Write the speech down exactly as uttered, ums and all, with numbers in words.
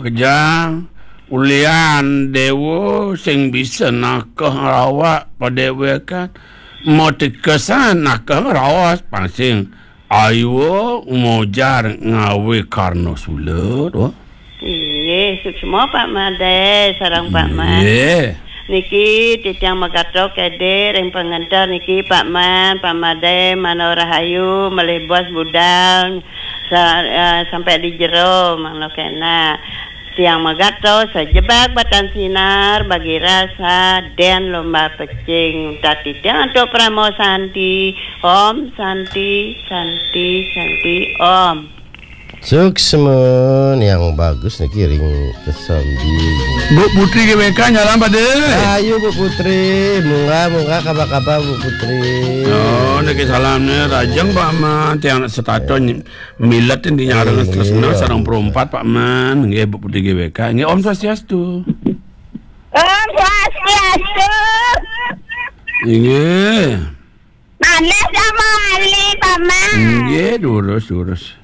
Kejang, ulian dewa sing bisa nakeh ngrawak padéwékan. Mo tikesan nakeh ngraos pansing. Aywa mojar ngawé karna sula, to. Inggih, suksma Pak Madé sareng Pak Man. Inggih. Niki titiang magatra kédé ring pangenter niki Pak Man, Pak Madé, Mano Rahayu, malih bos budal sa-, eh, sampai di jero, mangda kénak. Tiang magato sajebag batan sinar bagi rasa den lomba pecing. Tati tiang antuk Parama Santi. Om Santi, Santi, Santi, Om. Suksma yang bagus niki ring kesambi. Bu Putri G W K nyalam pada. Ayo Bu Putri, munggah, munggah, kaba-kaba Bu Putri. Oh, niki salamnya rajeng Pak Man, tiang anak setata ny-, milet ini nyareng. Iya, tresna iya, sareng iya. Perumpat Pak Man, nggih Bu Putri G W K. Nggih, Om Swastiastu. Om Swastiastu. Inggih. Maneh sama Ali, Pak Man. Nggih, durus, durus.